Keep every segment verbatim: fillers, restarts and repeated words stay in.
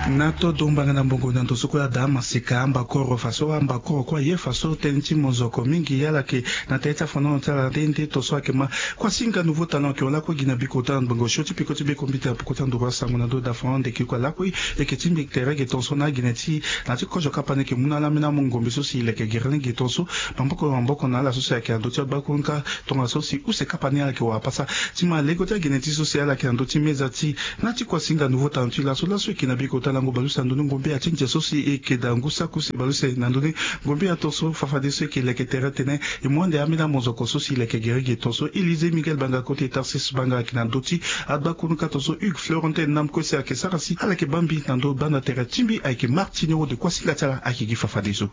Na todo mbanga na mbongo na ndo so kue ada maseka ambakoro faso ambakoro kue aye faso tënë ti mozoko mingi ala yeke na tënë ti afondon ti ala nde nde tonso ayeke ma kuasinga nouveau talent ayeke hon lakue gi na bikota na ngbongo sio ti peko ti bekombita na peko ti anduru asango na ndo da fran ndeke kue lakue. Eke ti mbi tere ge tonso na agene ti na ti kozo kapa ni eke mu na ala ambeni amongombe so si e leke gere ni ge tonso maboko na maboko na ala so si ayeke na ndö ti agbakonka. Tongaso si use kapa ni ala yeke wara pasa ti ma lego ti agene ti so si ala yeke na ndö ti meza ti na ti kuasinga nouveau talent ti laso laso eke na bikota lango baleuse na ndoni ngombe atindia so si eke da ngu saki use baleuse na ndoni ngombe ato so fafadeso eke leke tere tene. E mu ande ambeni amozoko so si leke gere ge tonso élysée miguel banga kote tarsis banga ayeke na ndö ti agbakono ka tonso hugues florentin na mokue si ayeke sara si ala yeke baa mbi na ndö banda tere ti mbi ayeke martiniero de kuasinga ti ala ayeke gi fafadeso.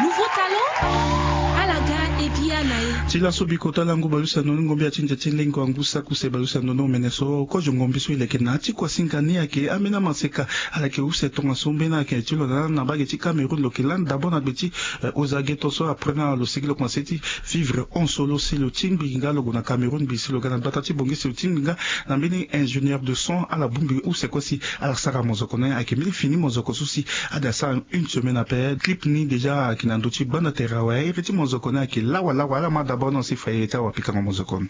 Nouveau talent. Ala ga. Ebia na ye. Ti laso bikota lango baleuse na ndoni ngombe atindia ti lengo angu saki use baleuse na ndoni omene so kozo ngombe so e leke na ti kuasinga ni ayeke ambeni amaseka. Ala yeke use tongaso mbeni ayeke ti lo na lani na mbage ti cameroun lo yeke lani d'abord na gbe ti ozage tonso après na lo sigi lo komanse ti vivre hon so lo si lo tingbi nga lo gue na cameroun mbi si lo ga na gbata ti bongi si lo tingbi nga na mbeni ingénieur de son ala bongbi use kue si ala sara mozoko na ye ayeke mbeni fini mozoko so si ada sara une semaine ape clip ni déjà ayeke na ndö ti gbanda tere awe ere ti mozoko ni ayeke lawa lawa ala ma d'abord na si fa ere ti awapikango mozoko ni.